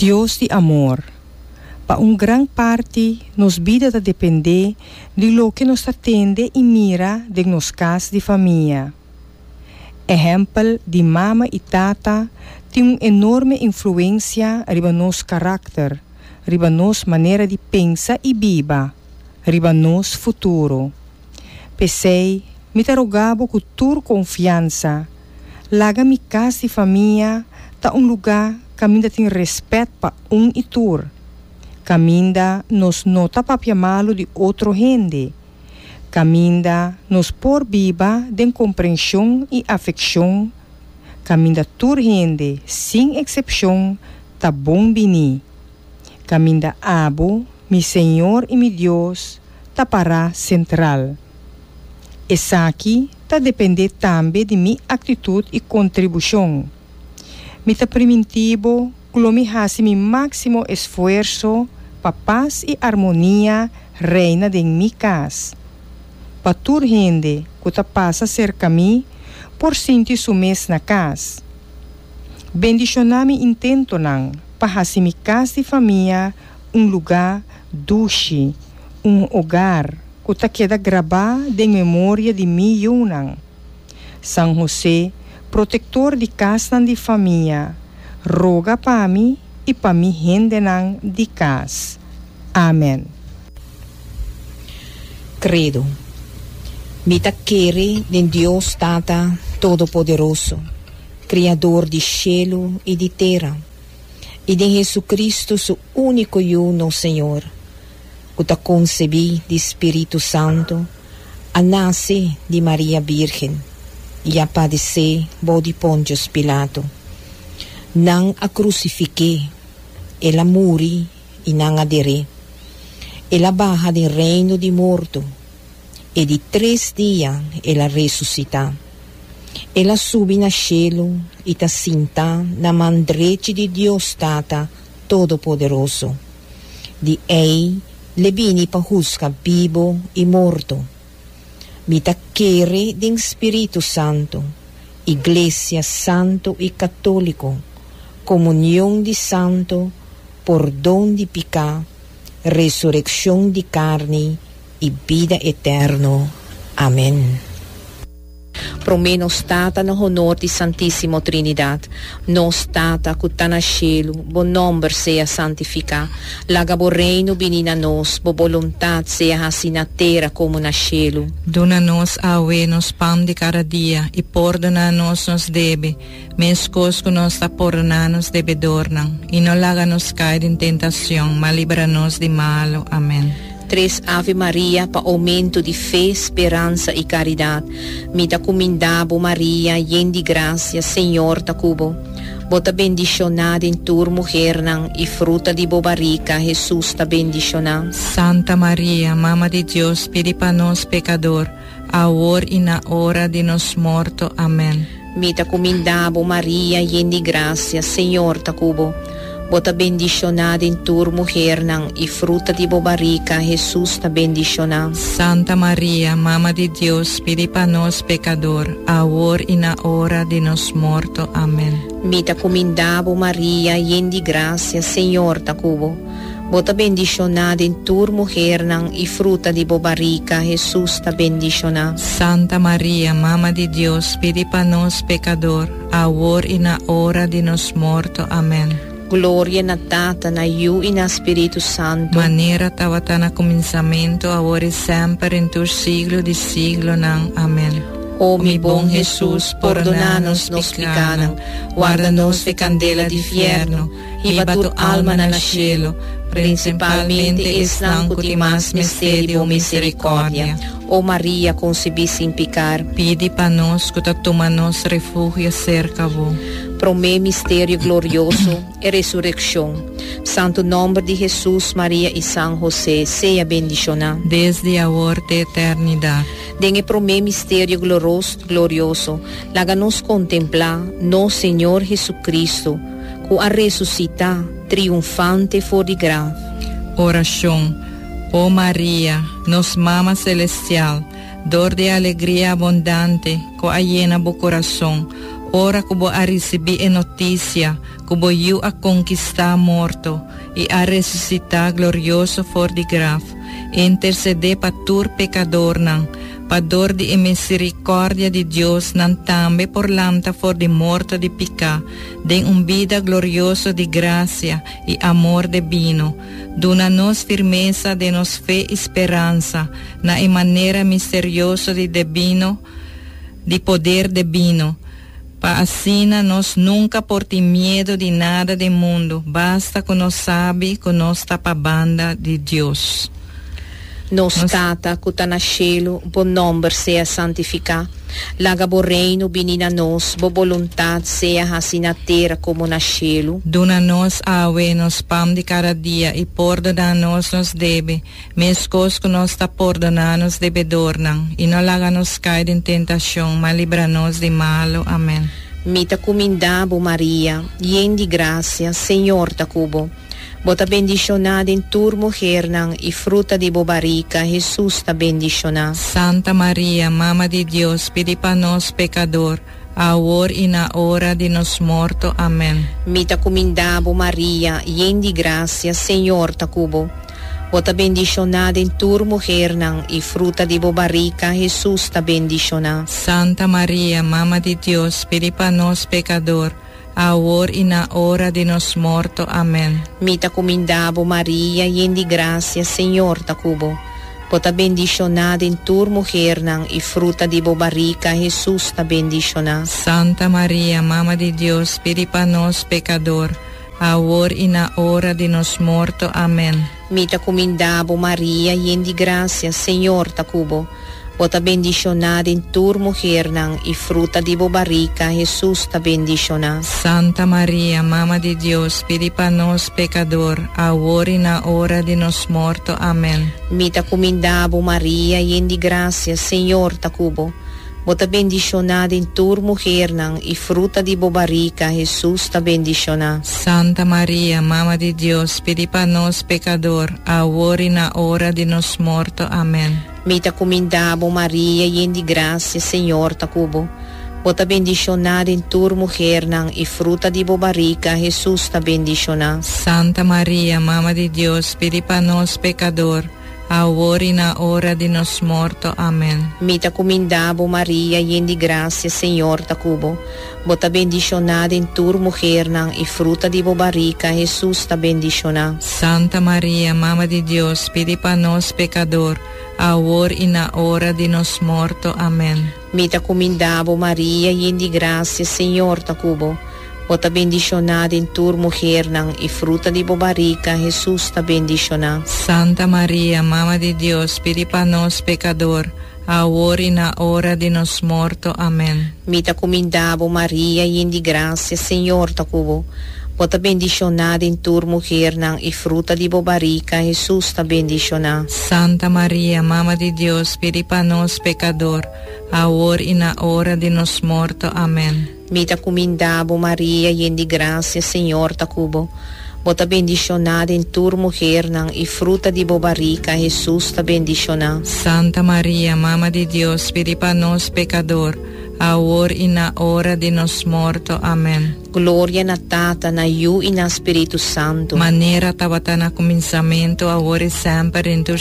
Dios di amor, pa un gran parti nos bida ta dependé di loke nos ta tende i mira den nos kas di famia. Ehèmpel di mama i tata tin un enorme influensia riba nos karakter, riba nos manera di pensa i biba, riba nos futuro. P'esei, mi ta roga bo ku tur konfiansa, laga mi kas di famia ta un lugá kaminda tin rèspèt pa un i tur, kaminda nos no ta papia malu di otro hende, kaminda nos por biba den komprenshon i afekshon, kaminda tur hende sin eksepshon ta bon biní, kaminda abo, mi Señor i mi Dios, ta pará sentral. Esaki ta dependé tambe di mi aktitut i kontribushon. Mi ta primintí bo ku lo mi hasi mi máksimo esfuerso pa pas i armonia reina den mi kas, pa tur hende ku ta pasa serka mi por sinti su mes na kas. Bendishoná mi intentonan pa hasi mi kas di famia un lugá dushi, un hogar ku ta keda grabá den memoria di mi yunan. San Hosé, protektor di kasnan di famia, roga pa mi i pa mi hendenan di kas. Amen. Credo. Mi ta kere den Dios Tata Todopoderoso, Criador di shelu i di tera, i den Jesucristo su único Yu nos Señor, cu ta concebí di Spiritu Santo, a nace di Maria Bírgen, i a padecé bou di Pontius Pilato. Nan a crucifiqué, el a muri i nan a der'é. El a baha den reino di morto, e di tres dia el a resucitá. El a subi na shelu i ta sintá na man drechi di Dios Tata Todopoderoso. Di ei l'e bini pa husga bibo i morto. Mi ta kere den Spiritu Santu, Iglesia Santu i Katóliko, komunion di santu, pordon di piká, resurekshon di karni i bida eterno. Amen. Promé nos Tata na honor di Santísimo Trinidad. Nos Tata ku ta na shelu, bo nòmber sea santifiká. Laga bo Reino bini na nos, bo boluntat sea hasi na tera komo na shelu. Duna nos awe nos pan di kada dia, i pordoná nos nos debe, meskos ku nos ta pordoná nos debedornan. I no laga nos kai den tentacion, ma libra nos di malu. Amen. Tres Ave Maria pa oumento di fe, speransa i karidat. Mi ta kuminda bo Maria, yen di grasia, Señor ta ku bo. Bo ta bendishoná den tur muhernan, i fruta di bo barika, Hesus, ta bendishoná. Santa Maria, Mama di Dios, pidi pa nos pekador, awor i na ora di nos morto. Amen. Mi ta kuminda bo, Maria, yen di grasia, Señor ta ku bo. Bo ta bendishoná den tur muhernan, i fruta di bo barika, Hesus, ta bendishoná. Santa Maria, Mama di Dios, pidi pa nos pekador, awor i na ora di nos morto. Amen. Mi ta kuminda bo, Maria, yen di grasia, Señor ta ku bo. Bo ta bendishoná den tur muhernan, i fruta di bo barika, Hesus, ta bendishoná. Santa Maria, Mama di Dios, pidi pa nos pekador, awor i na ora di nos morto. Amen. Gloria na Tata, na Yu i na Spiritu Santu. Manera tabata na kuminsamentu, awor i semper, i tur siglo di siglonan. Amen. O mi bon Hesus, pordoná nos nos pikánan, warda nos fe kandela di fièrnu. Hiba tur almanan na shelu, prinsipalmente esnan ku tin mas mester di bo miserikòrdia. O Maria, konsebí sin pikar. Pidi pa nos ku ta tuma nos refugio serka bo. Promé Misterio Glorioso, E Resurekshon. Santu nòmber di Hesus, Maria i San Hosé sea bendishoná. Desdi awor te eternidat. Den e promé misterio glorioso, laga nos kontemplá nos Señor Hesu-Kristu, ku a resusitá triunfante for di graf. Orashon, O Maria, nos Mama Selestial, dor di e alegria abondante ku a yena bo kurason ora ku bo a risibí e notisia. ku bo Yu a konkistá morto i a resusitá glorioso for di graf, intersedé pa tur pekadornan, pa dor di e miserikòrdia di Dios nan tambe por lanta for di morto di piká den un bida glorioso di grasia i amor debino. Duna nos firmesa den nos fe i speransa na e manera misterioso di debino di poder debino, pa asina nos nunka por tin miedu di nada den mundu, basta ku nos sabi ku nos ta pa banda di Dios. Nos Tata ku ta na shelu, bo nòmber sea santifiká. Laga bo Reino bini na nos, bo boluntat sea hasi na tera komo na shelu. Duna nos awe nos pan di kada dia i pordoná nos nos debe, meskos ku nos ta pordoná nos debedornan. I no laga nos kai den tentashon, ma libra nos di malu. Amèn. Mi ta kumindá bo, Maria, yen di grasia, Señor ta ku bo. Bo ta bendishoná den tur muhernan, i fruta di bo barika, Hesus, ta bendishoná. Santa Maria, Mama di Dios, pidi pa nos pekador, awor i na ora di nos morto. Amèn. Mi ta kumindá bo, Maria, yen di grasia, Señor ta ku bo. Bo ta bendishoná den tur muhernan, i fruta di bo barika, Hesus, ta bendishoná. Santa Maria, Mama di Dios, pidi pa nos pekador, awor i na ora di nos morto. Amèn. Mi ta kumindá bo, Maria, yen di grasia, Señor ta ku bo. Bo ta bendishoná den tur muhernan, i fruta di bo barika, Hesus, ta bendishoná. Santa Maria, Mama di Dios, pidi pa nos pekador, awor i na ora di nos morto. Amèn. Mi ta kumindá bo, Maria, yen di grasia, Señor ta ku bo. Bo ta bendishoná den tur muhernan, i fruta di bo barika, Hesus, ta bendishoná. Santa Maria, Mama di Dios, pidi pa nos pekador, awor i na ora di nos morto. Amèn. Mi ta kumindá bo, Maria, yen di grasia, Señor ta ku bo. Bo ta bendishoná den tur muhernan, i fruta di bo barika, Hesus, ta bendishoná. Santa Maria, Mama di Dios, pidi pa nos pekador, awor i na ora di nos morto. Amèn. Mi ta kumindá bo, Maria, yen di grasia, Señor ta ku bo. Bo ta bendishoná den tur muhernan, i fruta di bo barika, Hesus, ta bendishoná. Santa Maria, Mama di Dios, pidi pa nos pekador, awor i na ora di nos morto. Amèn. Mi ta kumindá bo, Maria, yen di grasia, Señor ta ku bo. Bo ta bendishoná den tur muhernan, i fruta di bo barika, Hesus, ta bendishoná. Santa Maria, Mama di Dios, pidi pa nos pekador, awor i na ora di nos morto. Amèn. Mi ta kumindá bo, Maria, yen di grasia, Señor ta ku bo. Bo ta bendishoná den tur muhernan, i fruta di bo barika, Hesus, ta bendishoná. Santa Maria, Mama di Dios, pidi pa nos pekador, awor i na ora di nos morto. Amèn. Mi ta kumindá bo, Maria, yen di grasia, Señor ta ku bo. Bo ta bendishoná den tur muhernan, i fruta di bo barika, Hesus, ta bendishoná. Santa Maria, Mama di Dios, pidi pa nos pekador, awor i na ora di nos morto. Amèn. Mi ta kumindá bo, Maria, yen di grasia, Señor ta ku bo. Bo ta bendishoná den tur muhernan, i fruta di bo barika, Hesus, ta bendishoná. Santa Maria, Mama di Dios, pidi pa nos pekador, awor i na ora di nos morto. Amèn. Gloria na Tata, na Yu i na Spiritu Santu. Manera tabata na kuminsamentu, awor i semper, den tur.